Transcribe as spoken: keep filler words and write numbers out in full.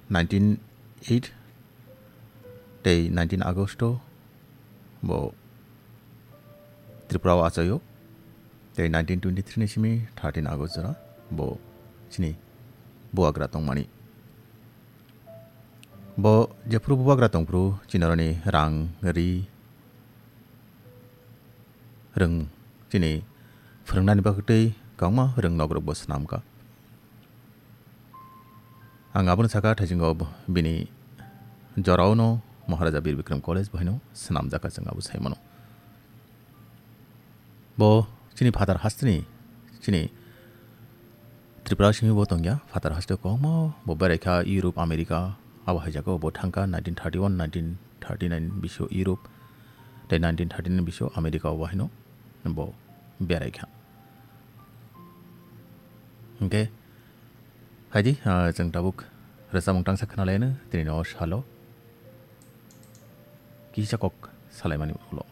nineteen eight tei nineteen August o bo Tripura o achaio. Tei nineteen twenty-three ni simi thirteen August jora bo chini bubagra tongmani. Bo jephuru bubagra tongphuru chini oroni rang ri rwng chini phwrwngnani bagwi tei kwbangma rwng nogrok bo swnamkha. Ang abono sakha, thaisingo bo-, bini jorao no Maharaja Bir Bikram College bo haino swnamjakha, chwng abo sai mano. Bo chini phatar hasteni, chini Tripura simi bo tongya, phatar haste kwbangma bo beraikha, Europe, America, abo hai jagao bo thangkha, nineteen thirty-one, nineteen thirty-nine bisio Europe, tei nineteen thirty-nine bisio America o bo haino bo beraikha. Hingke, haidi, ah, chwng tabuk rwchapmung tangsa khwnalaino, tini no salo kisa kok salaimani ulo.